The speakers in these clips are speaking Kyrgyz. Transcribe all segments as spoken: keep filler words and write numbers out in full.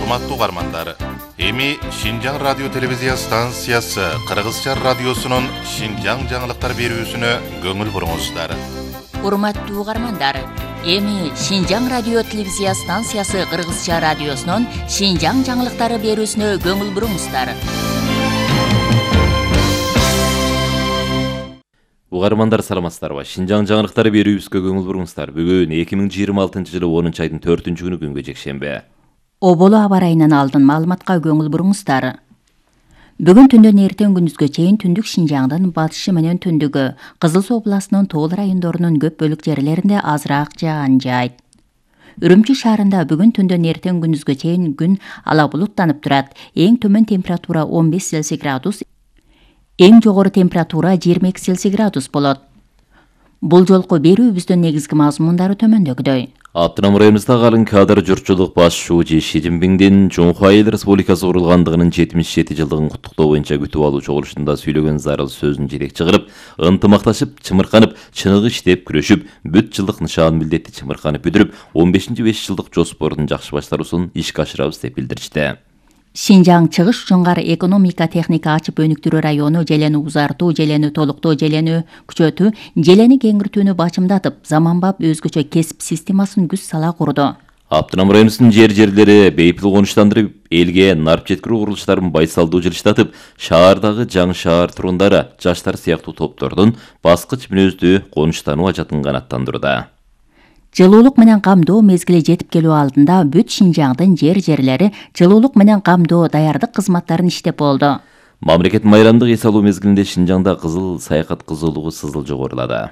Урматтуу угармандар, эми Шинжаң радио телевизия станциясы Кыргызча радиосунун Шинжаң жаңылыктар берүүсүнө көңүл буруңуздар. Урматтуу угармандар, эми Шинжаң радио телевизия станциясы Кыргызча радиосунун Шинжаң жаңылыктары берүүсүнө көңүл буруңуздар. Угармандар саламатсыздарбы? Шинжаң жаңылыктары берүүбүзгө көңүл буруңуздар. Бүгүн эки миң жыйырма алтынчы жылы онунчу айдын төртүнчү күнү күнгө жекшемби. Оболу аба ырайынан алдын маалыматка көңүл буруңуздар. Бүгүн түндөн эртең күндүзгө чейин түндүк Шинжаңдын батышы менен түндүгү, Кызыл Суу областынын тоол райондорунун көп бөлүк жерлеринде азыраак жаан жаайт. Үрүмчү шаарында бүгүн түндөн эртең күндүзгө чейин күн ала булуттанып турат. Эң төмөн температура он беш Цельсий градус, эң жогору температура жыйырма эки Цельсий градус болот. Бул жолку берүүбүздүн негизги мазмундары төмөндөгүдөй. Автоном районубузда калың кадр журтчулук баш шүүчү Ши Цзиньпиңдин Чоңхуа Эл Республикасы курулгандыгынын жетимиш жети жылдыгын куттуктоо боюнча күтүп алуу чогулушунда сөйлөгөн зарыл сөзүн жетекчи кылып, ынтымакташып, чымырканып, чыныгы иштеп, күрөшүп, бүт жылдык нышан милдетти чымырканып бүтүрүп, он бешинчи беш жылдык жоспордун жакшы баштаруусун ишке ашырабыз деп билдиришти. Шинжаң чыгыш жоңгар экономика техника ачып өнүктүрүү району желени узартуу, желени толуктоо, желени күчөтүү, желени кеңиртүүнү бачымдатып, заманбап өзгөчө кесип системасын күч сала курду. Автоном районубуздун жер-жерлери бейпил конуштандырып, элге нарп жеткирүү курулуштарын байсалдуу жылыштатып, шаардагы жаңы шаар тургундары, жаштар сыяктуу топтордун баскыч мүнөздүү конуштануу ажатын канааттандырууда. Жылуулук менен камдоо мезгили жетип келүү алдында бүт Шинжаңдын жер-жерлери жылуулук менен камдоо даярдык кызматтарын иштеп болду. Мамлекет майрамдык эс алуу мезгилинде Шинжаңда кызыл саякат кызуулугу сызыл жогорулады.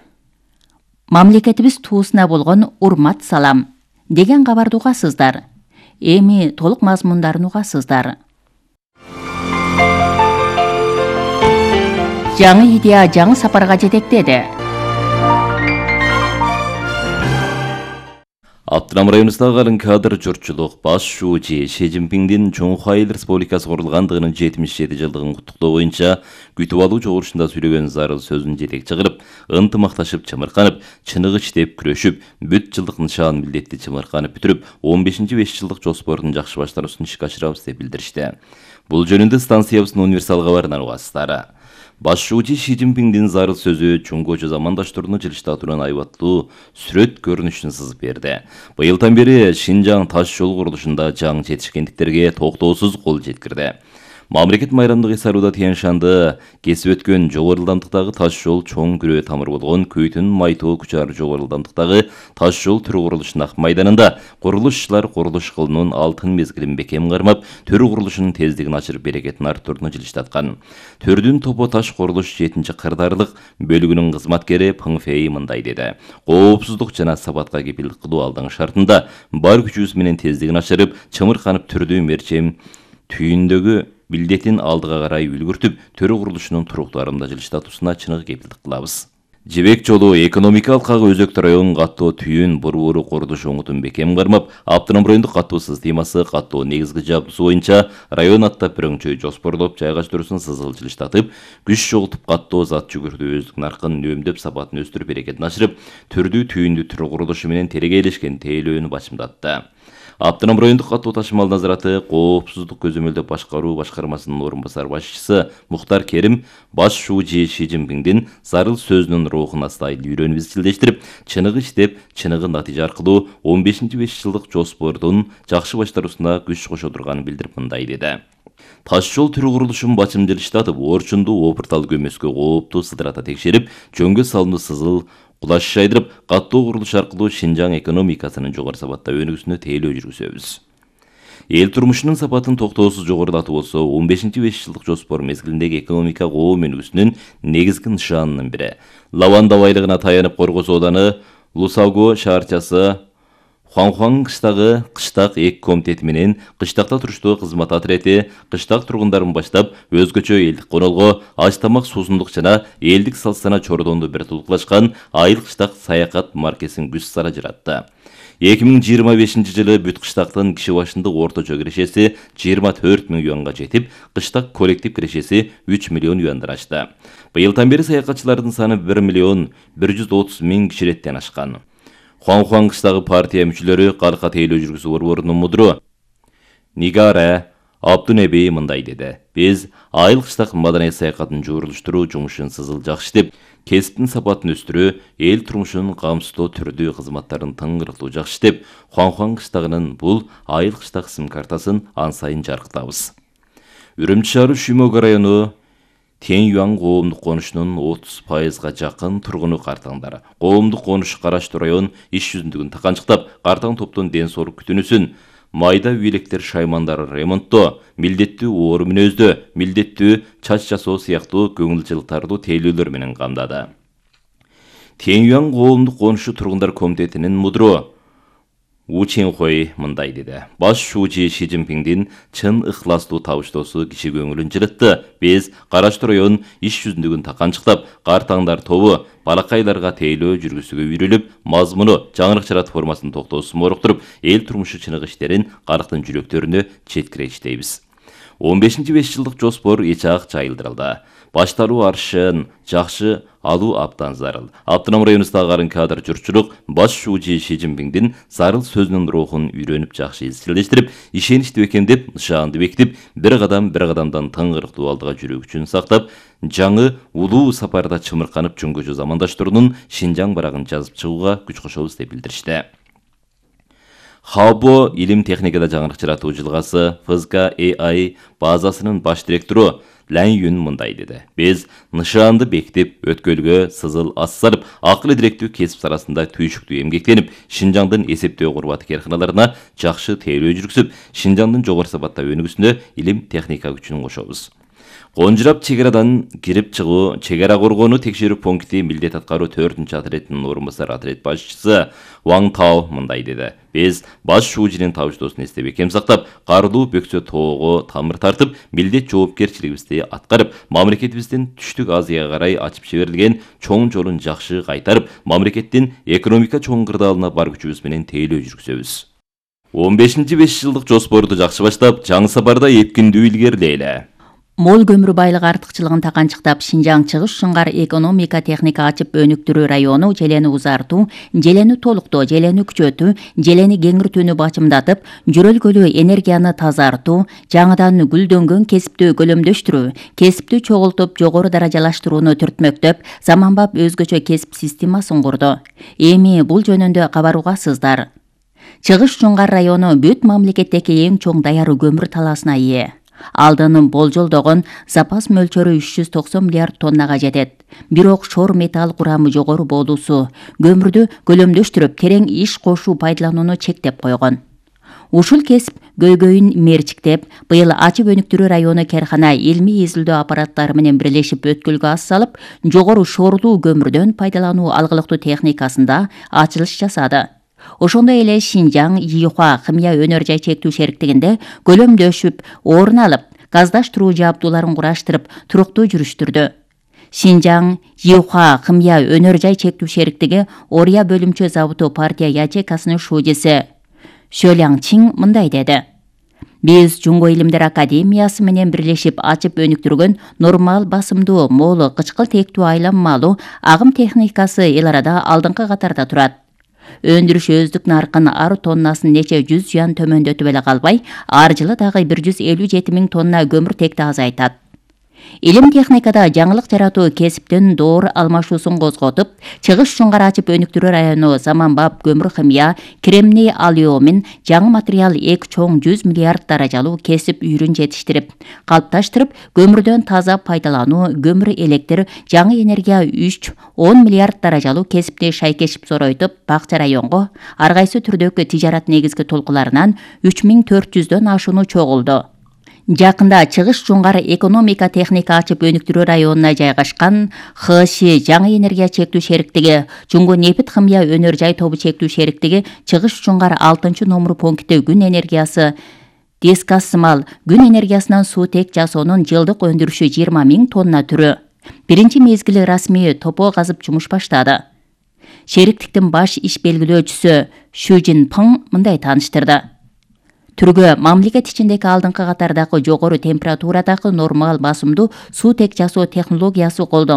Мамлекетибиз туусуна болгон урмат салам деген кабарды угасыздар. Эми толук мазмундарын угасыздар. Жаңы идея жаңы сапарга жетектеди. Автоном районубузда калың кадр журтчулук баш шүүчү Ши Цзиньпиңдин Чоңхуа Эл Республикасы курулгандыгынын жетимиш жети жылдыгын куттуктоо боюнча күтүп алуу чогулушунда сүйлөгөн зарыл сөзүн жетекчи кылып, ынтымакташып, чымырканып, чыныгы иштеп, күрөшүп, бүт жылдык нышан милдетти чымырканып бүтүрүп, он бешинчи беш жылдык жоспордун жакшы баштаруусун ишке ашырабыз деп билдиришти. Бул жөнүндө станциябыздын универсал кабарынан угасыздар. Баш шүүчү Ши Цзиньпиңдин зарыл сөзү чоңгочу замандаштарына жылыштатуунун айбаттуу сүрөт көрүнүшүн сызып берди. Быйылдан бери Шинжаң таш жол курулушунда жаңы жетишкендиктерге токтоосуз кол жеткирди. Мамлекет майрамдык эс алууда Тянь-Шанды кесип өткөн жогору ылдамдыктагы таш жол чоң күрөө тамыр болгон Көйтүн Майтоо күчары жогору ылдамдыктагы таш жол түрү курулушунун ак майданында курулуш ишчилар курулуш кылуунун алтын мезгилин бекем кармап, түрү курулушунун тездигин ачырып берекетин арттырууну жылыштаткан. Төрдүн топо таш курулуш жетинчи кырдаарлык бөлүгүнүн кызматкери Пың Фэй мындай деди. Коопсуздук жана сапатка кепилдик кылуу алдың шартында бар күчүбүз менен тездигин ачырып, чымырканып түрдүү мерчем түйүндөгү милдетин алдыга карай үлгүртүп, төрү курулушунун туруктарында жылыштатуусуна чыныгы кепилдик кылабыз. Жибек жолу экономикалык кагы өзөктү районун каттоо түйүн борбору курулуш оңутун бекем кармап, автоном райондук каттоо системасы каттоо негизги жабдуусу боюнча район аттап бирөңчөй жоспорлоп жайгаштыруусун сызыл жылыштатып, күч чогултуп каттоо зат жүгүртүү өздүк наркын үнөмдөп сапатын өстүрүп берекетин ачырып, түрдүү түйүндүү түрү курулушу менен тергейлешкен тейлөөнү бачымдатты. Автоном райондук каттоо ташымал назараты коопсуздук көзөмөлдөп башкаруу башкармасынын орун басар башчысы Мухтар Керим баш шүүчү Ши Цзиньпиңдин зарыл сөзүнүн рухуна стайыл үйрөнүп изчилдештирип, чыныгы иштеп, чыныгы натыйжа аркылуу он бешинчи беш жылдык жоспордун жакшы баштаруусуна күч кошо турганын билдирип мындай деди. Таш жол түрү курулушун бачым жылыштатып, орчундуу опуртал көмөскө кооптуу сыдырата текшерип, жөнгө салымды сызыл кулаш жайдырып, каттоо курулуш аркылуу Шинжаң экономикасынын жогору сапатта өнүгүүсүнө тейлөө жүргүзөбүз. Эл турмушунун сапатын токтоосуз жогорулатуу болсо, он бешинчи беш жылдык жоспор мезгилиндеги экономика коом өнүгүүсүнүн негизги нышанынын бири. Лаванда байлыгына таянып Коргоз ооданы Лусаго шаарчасы Хуанхуан кыштагы кыштак эки комитети менен кыштакта туруштуу кызмат отрети кыштак тургундарын баштап, өзгөчө элдик конолго, аш тамак суусундук жана элдик салт-сана чордонду бир тулуклашкан айыл кыштак саякат маркесин күч сара жаратты. эки миң жыйырма бешинчи жылы бүт кыштактын киши башындык орточо кирешеси жыйырма төрт миң юанга жетип, кыштак коллектив кирешеси үч миллион юандан ашты. Быйылдан бери саякатчылардын саны бир миллион бир жүз отуз миң кишилеттен ашкан. Хуанхуан кыштагы партия мүчөлөрү калка тейлөө жүргүзүү борборунун мудуру Нигара Абдунеби мындай деди. Биз айыл кыштак маданият саякатын жуурулуштуруу жумушун сызыл жакшы деп, кесиптин сапатын өстүрүү, эл турмушунун камсыздоо түрдүү кызматтарын тыңгырыктуу жакшы деп, Хуан-Хуан кыштагынын бул айыл кыштак сым картасын ан сайын жарыктабыз. Үрүмчү шаары Шүмөгө району Тянь-Юань коомдук конушунун отуз пайызга жакын тургуну картаңдары. Коомдук конуш караштуу район иш жүзүндүгүн таканчыктап, картаң топтун ден соолук күтүүнүсүн майда үйлектер шаймандары ремонттоо, милдеттүү оору мүнөздө, милдеттүү чач жасоо сыяктуу көңүл жылтардуу тейлөөлөр менен камдады. Тянь-Юань коомдук конушу тургундар комитетинин мудру У Ченхой мындай деди. Баш шуучу Ши Цзиньпиңдин чын ыхластуу табыштоосу киши көңүлүн жылытты. Биз караштуу район иш жүзүндүгүн таканчыктап, картаңдар тобу балакайларга тейлөө жүргүзүүгө үйрөлүп, мазмуну жаңырык жарат формасын токтоосун моруктуруп, эл турмушу чыныгы иштерин калктын жүрөктөрүнө четкиречтейбиз. он бешинчи беш жылдык жоспор эч ак жайылдырылды. Башталуу арышын жакшы алуу абдан зарыл. Автоном районундагы кадр журтчулук баш шуучу Ши Цзиньпиңдин зарыл сөзүнүн рухун үйрөнүп жакшы изчилдештирип, ишеничти бекемдеп, нышаанды бекитип, бир кадам бир кадамдан тыңгырыктуу алдыга жүрүү күчүн сактап, жаңы улуу сапарда чымырканып жөнгөжө замандаштарынын Шинжаң барагын жазып чыгууга күч кошобуз деп билдиришти. Хабо илим техникада жаңырык жаратуу жылгасы эф эс ка эй ай базасынын баш директору Лань Юн мындай деди. Биз нышаанды бекитип, өткөлгө сызыл ас салып, акыл директүү кесип арасында түйшүктүү эмгектенип, Шинжаңдын эсептөө курбаты карканаларына жакшы тейлөө жүргүзүп, Шинжаңдын жогору сапаттагы өнүгүүсүнө илим техника күчүн кошобуз. Конжурап чегарадан кирип чыгуу, чегара коргонуу текшерүү пункти милдет аткаруу төртүнчү отрядынын орун басары отряд башчысы Ван Тао мындай деди. Биз баш шуучунун табыштоосун эстеп бекем сактап, карылуу бөксө тоого тамыр тартып, милдет жоопкерчилигибизди аткарып, мамлекетибиздин түштүк Азияга карай ачып жиберилген чоң жолун жакшы кайтарып, мамлекеттин экономика чоң кырдаалына бар күчүбүз менен тейлөө жүргүзөбүз. он бешинчи беш жылдык жоспорду жакшы баштап, жаңы сапарда эпкиндүү илгерилейле. Мол көмүр байлыгы артыкчылыгын таканчыктап, Шинжаң чыгыш шыңгар экономика техника ачып өнүктүрүү району желени узартуу, желени толуктоо, желени күчөтүү, желени кеңиртүүнү бачымдатып, жөрөлгөлүү энергияны тазартуу, жаңыдан гүлдөнгөн кесипти көлөмдөштүрүү, кесипти чогултуп, жогору даражалаштырууну түртмөктөп, заманбап өзгөчө кесип системасын курду. Эми бул жөнүндө кабаруугасыздар. Чыгыш шыңгар району бүт мамлекеттеги эң чоң даяры көмүр талаасына ээ. Алдын болжолдогон запас мөлчөрү үч жүз токсон миллиард тоннага жетет. Бирок шор металл курамы жогору болуусу көмүрдү көлөмдөштүрүп, терең иш кошуу пайдаланууну чектеп койгон. Ушул кесип көйгөйүн мерчиктеп, быйыл ачып өнүктүрүү району кархана илмий изилдөө аппараттары менен бирлешип өткөлгө ас салып, жогору шорлуу көмүрдөн пайдалануу алгылыктуу техникасында ачылыш жасады. Ошондой эле Шинжаң Йихуа химия өнөр жай чектүү шериктигинде көлөмдөшүп, орун алып, газдаштыруу жабдууларын кураштырып, туруктуу жүрүштүрдү. Шинжаң Йихуа химия өнөр жай чектүү шериктиги Ория бөлүмчө заводу партия ячейкасынын шуучусу Шөляң Чин мындай деди. Биз Жунго илимдер академиясы менен бирлешип ачып өнүктүргөн нормал басымдуу, молу, кычкыл тектүү айланмалуу агым техникасы эл арада алдыңкы катарда турат. Өндүрүш өздүк наркын ар тоннасын нече жүз жуан төмөндөтүп эле калбай, ар жылы дагы бир жүз элүү жети миң тонна көмүртекти азайтат. Илим техникада жаңылык жаратуу кесиптин доор алмашуусун козготуп, чыгыш шыңгар ачып өнүктүрүү району заманбап көмүр химия, кремний алюмин, жаңы материал эки чоң жүз миллиард даражалуу кесип үйрүн жетиштирип, калыпташтырып, көмүрдөн таза пайдалануу, көмүр электр, жаңы энергия үч он миллиард даражалуу кесипти шайкешип соройтуп, Бакча районго ар кайсы түрдөгү тижарат негизги толкуларынан үч миң төрт жүздөн ашууну чогулду. Жакында чыгыш жунгар экономика техника ачып өнүктүрүү районуна жайгашкан ха эс жаңы энергия чектүү шериктиги, Жунго нефт химия өнөр жай тобу чектүү шериктиги чыгыш жунгар алтынчы номер пункти күн энергиясы дискасымал күн энергиясынан суутек жасоонун жылдык өндүрүшү жыйырма миң тонна түрү. Биринчи мезгили расмий топо казып жумуш баштады. Шериктиктин баш иш белгилөөчүсү Шу Жинпың мындай тааныштырды. Түргө мамлекет ичиндеги алдыңкы катардагы жогору температурадагы нормал басымдуу суутек жасоо технологиясы колдон